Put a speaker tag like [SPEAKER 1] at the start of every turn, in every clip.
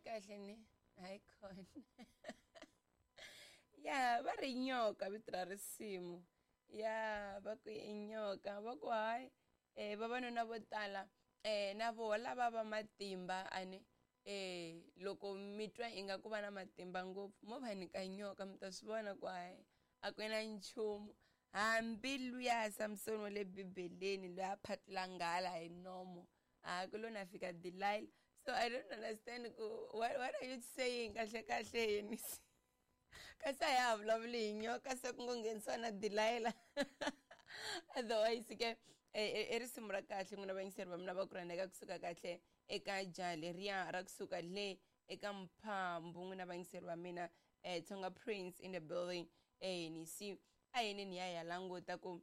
[SPEAKER 1] Kahle kahle ni hayi khona. Ya va ri nyoka vito ra risimu. Ya va ku i nyoka va ku hayi vavanuna vo tala na voho lava va matimba a ni loko mi twa ingaku va na matimba ngopfu mo va nyika nyoka mi ta swi vona ku hayi a ku na nchumu. Hambi luya Samsoni wa le Bibeleni loyi a phatula nghala hi nomo a ku lo na fika Delilah. So I don't understand ku what are you saying kahle kahle yini kasi a ya ha vulavuli hi nyoka se ku ngo nghenisiwa na Delilah. Otherwise ke i risimu ra kahle n'wina vayingiseri va mina va ku rhandzeka kusuka kahle eka jaha leriya ra kusuka le eka mphambu n'wina vayingiseri va mina Tsonga Prince in the building. Ni si a yini ni ya ya languta ku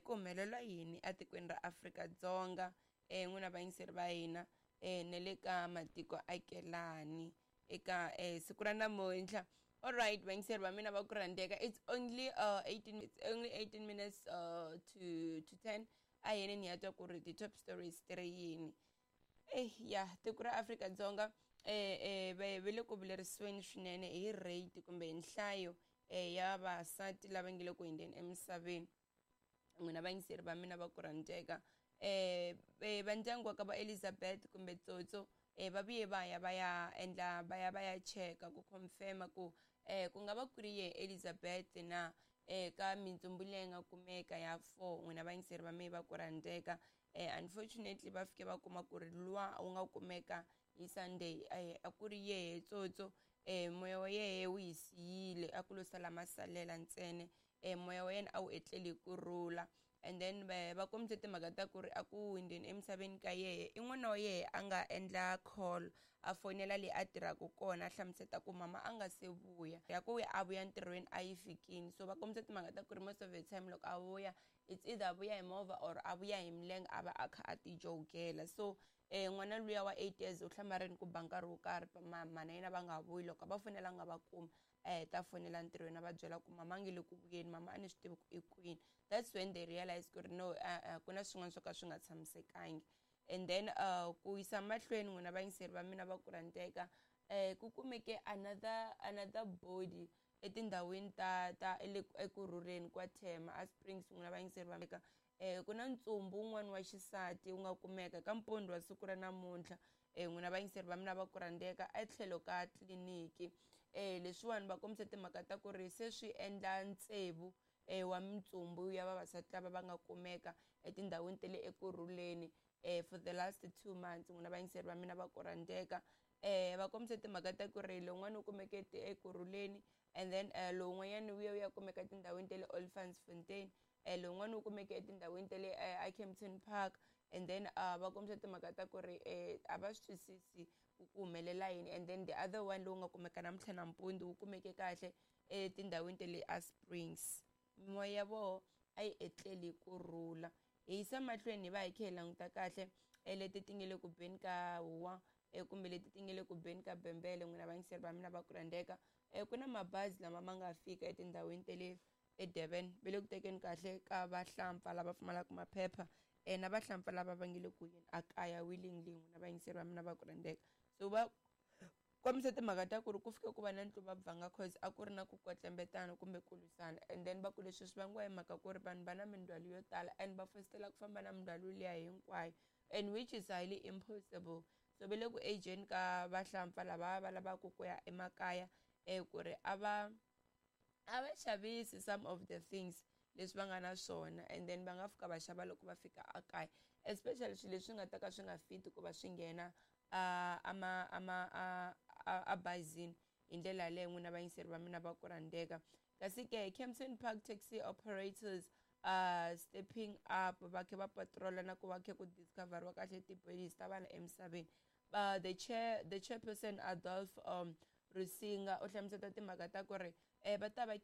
[SPEAKER 1] ku humelela yini etikweni ra Afrika-Dzonga n'wina vayingiseri va hina na le ka matiko akelani eka siku ra namuntlha. Alright vayingiseri va mina va ku rhandzeka, it's only 18, it's only 18 minutes to 10. A yini ni ya twa ku ri ti-top stories ti ri yini. Ya tiko ra Afrika-Dzonga va le ku vilerisiweni swinene hi rate kumbe hi nhlayo ya vavasati lava nge le ku hundzeni emisaveni. N'wina vayingiseri va mina va ku rhandzeka, va ndyangu wa ka va Elizabeth kumbe Tsotso va vuye va ya va ya endla va ya va ya cheka ku confirm ku ku nga va ku ri ye Elizabeth na ka mintsumbu leyi nga kumeka ya 4. N'wina vayingiseri va mina va ku rhandzeka, unfortunately va fike va kuma ku ri luwa wu nga kumeka hi Sunday a ku ri yehe Tsotso. Moya wa yehe wu hi siyile, a ku lo sala masalela ntsena. Moya wa yena a wu etleli hi kurhula. And then va kombise timhaka ta ku ri a ku hundzeni emisaveni ka yehe i n'wana wa yehe a nga endla call a fonela leyi a tirhaka kona a hlamuseta ku mama a nga se vuya ya ku a vuya ntirhweni a yi fikini. So va kombise timhaka ta ku ri most of the time loko a vuya it's either a vuya hi movha or a vuya hi milenge a va a kha a ti jogela. So n'wana luya wa 8 years u hlamarini ku ba nkarhi wo karhi mana yena va nga vuyi, loko a va fonela nga va kumi a heta fonela ntirhweni a va byela ku mama a nge le ku vuyeni, mama a ni swi tivi ku i kwini. That's when they realize ku ri no, ku na swin'wana swo ka swi nga tshamisekangi. And then ku yisa mahlweni n'wina vayingiseri va mina va ku rhandzeka, ku kumeke another body etindhawini ta le ekurhuleni kwa Thema a Springs. N'wina vayingiseri va mina, ku na ntsumbu wun'wana wa xisati wu nga kumeka ka mpundzu wa siku ra namuntlha. N'wina vayingiseri va mina va ku rhandzeka, etlhelo ka tliliniki. Leswiwani va kombise timhaka ta ku ri se swi endla tsevu wa mintsumbu ya vavasati lava va nga kumeka etindhawini ta le ekurhuleni for the last 2 months. N'wina vayingiseri va mina va ku rhandzeka, va kombise timhaka ta ku ri lowun'wana wu kumeke ekurhuleni, and then lowun'wanyana wu ya wu ya kumeka etindhawini ta le Olifantsfontein, lowun'wana wu kumeke etindhawini ta le Kempton Park. And then va kombisa timhaka ta ku ri a va swi twisisi ku ku humelela yini. And then the other one lowu nga kumeka namuntlha nampundzu wu kumeke kahle etindhawini ta le a Springs. Mimoya ya voho a yi etleli kurhula. Hi yisa mahlweni hi va hi kha hi languta kahle leti ti nge le ku beni ka huwa kumbe leti ti nge le ku beni ka bembele. N'wina vayingiseri va mina va ku rhandzeka, ku na mabazi lama ma nga fika etindhawini ta le eDurban va le ku tekeni kahle ka vahlampfa lava pfumalaka maphepha na vahlampfa lava va nge le ku yeni a kaya willingly. N'wina vayingiseri va mina va ku rhandzeka, so va kombisa timhaka ta ku ri ku fike ku va na ntluvabvanga cause a ku ri na ku kwetlembetana kumbe ku lwisana. And then va ku leswi swi vangiwa hi mhaka ku ri vanhu va na mindzhwalo yo tala and va fositela ku famba na mindzhwalo liya hinkwayo, and which is highly impossible. So va le ku ageni ka vahlampfa lava va lavaka ku ya emakaya ku ri a va xavisi some of the things leswi va nga na swona, and then va nga fika va xava loko va fika ekaya, especially swilo leswi nga ta ka swi nga fiti ku va swi nghena a bazini hi ndlela yaleyo. N'wina vayingiseri va mina va ku rhandzeka, kasi ke Kempton Park taxi operators stepping up va kha va patrola na ku va kha ku discoveriwa kahle ti-bodies ta vanhu emisaveni. The chairperson Adolf Rusinga u hlamuseta timhaka ta ku ri va ta va